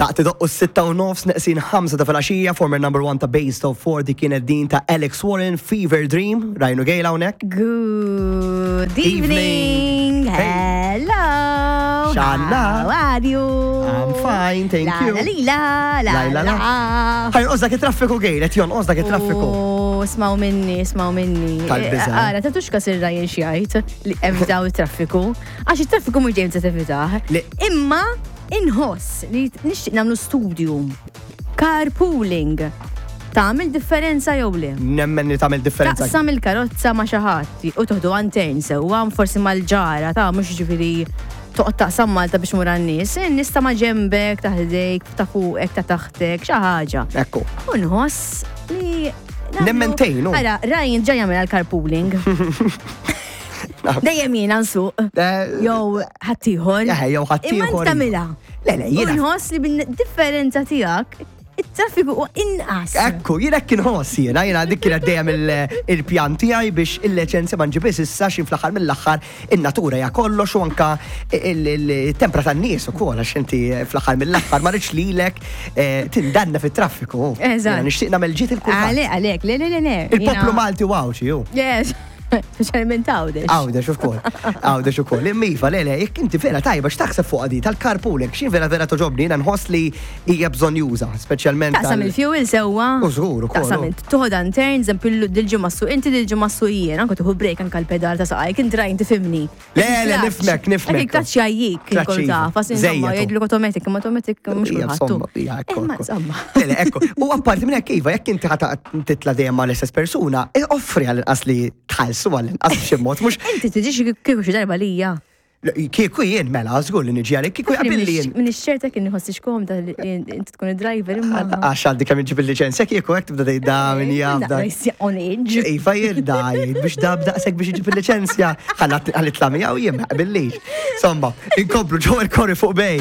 Daqt idoqqu s-6:30 neqsin 5 ta' filgħaxija, former number one ta' Based of 4 di kienet din ta' Alex Warren, Fever Dream, Rajnu Gejla hawnhekk. Good evening. Evening. Hey. Hello. Xanna? How are you? I'm fine, thank la, you. La la la La, la, la. Ħaj jonqos dak it-traffiku Gejl, qed jonqos dak it-traffiku. Oh, Smaw minni, smaw minni. Tal-biża'. Eh, Ara, tatux kas ir-rajn xjajt li evitaw it-traffiku. Għax it-traffiku mhux dejjem se tevitah. Le- Imma inħoss li nixtieq nagħmlu studju. Carpooling. Tagħmel differenza jew le? Nemmen li tagħmel differenza. Taqsam il-karozza ma' xi ħadd u toħdu għantejn sewwa, forsi mal-ġara ta' mhux ġifieri toqgħod taqsam Malta biex mur għan-nies, in-nies ta' ma' ġembek, ta' ħdejk, ta' fuqek, ta' taħtek, xi ħaġa. Ekku. U nħoss li Nemmen tgħin, hu. Ara, Ryan ġa jagħmel għall-carpooling. Dejjem jiena nsuq. Jew ħaddieħor. Jew ħaddieħor. Imma int tagħmilha. Le, le, jiena. U nħoss li bil-differenza tiegħek it-traffiku huwa inqas. Ekku, jiena hekk inħoss jiena, jiena dik kienet dejjem il-pjan tiegħi biex il-liċenzja ma nġibhiex issa x'in fl-aħħar mill-aħħar in-natura hija kollox u anka il-tempra tan-nies ukoll għax inti fl-aħħar mill-aħħar ma rridx lilek eh, tindanna fit-traffiku. Eżatt. Jiena nixtieq nagħmel ġid il kulħadd. Għalek, għalek, le, le, le, le. Il-poplu Jiena- Malti u Għawdxi hu. Yes. Speċjalment Għawdex. Għawdex ukoll. Għawdex ukoll. Imma iva, le, le, jekk inti vera tajba x'taħseb fuq di tal-carpooling, x'in vera vera toġobni, jiena nħoss li hija bżonn juża, speċjalment. Taqsam il-fuel sewwa. U żgur ukoll. Taqsam int toħod turn, eżempju dil-ġimgħa suq inti dil-ġimgħa suq jien, anke tieħu break anke l-pedal ta' saqajk, int rajn tifhimni. Le, le, nifmek, nifmek. Dak il-klaċ jgħajjik, Klaċ kol iva. ta' fasin Żejjed insomma, hu. jgħidluk automatic, imma automatic mhux Ija, kulħadd. insomma, ija, ekku, Imma ekku. insomma. Le, le, ekku. U apparti minn hekk iva, jekk inti ħa titla' dejjem mal istess persuna, eh, offri għall-inqas li tħallsu għall-inqas b'xi mod, mhux Inti tiġix kieku xi darba lija. kieku jien mela, żgur li niġi għalik, kieku jaqbilli jien. Min ix-xerta kien nħossix komda li inti tkun id-driver imma. Għax għandi kemm iġib il-liċenzja kieku hekk tibda tgħid da min jaf da. On age. Iva jien da jgħid biex da b'daqshekk biex iġib il-liċenzja. Ħalli tla miegħu jien ma jaqbillix. Insomma, inkomplu ġew il-kori fuq bej.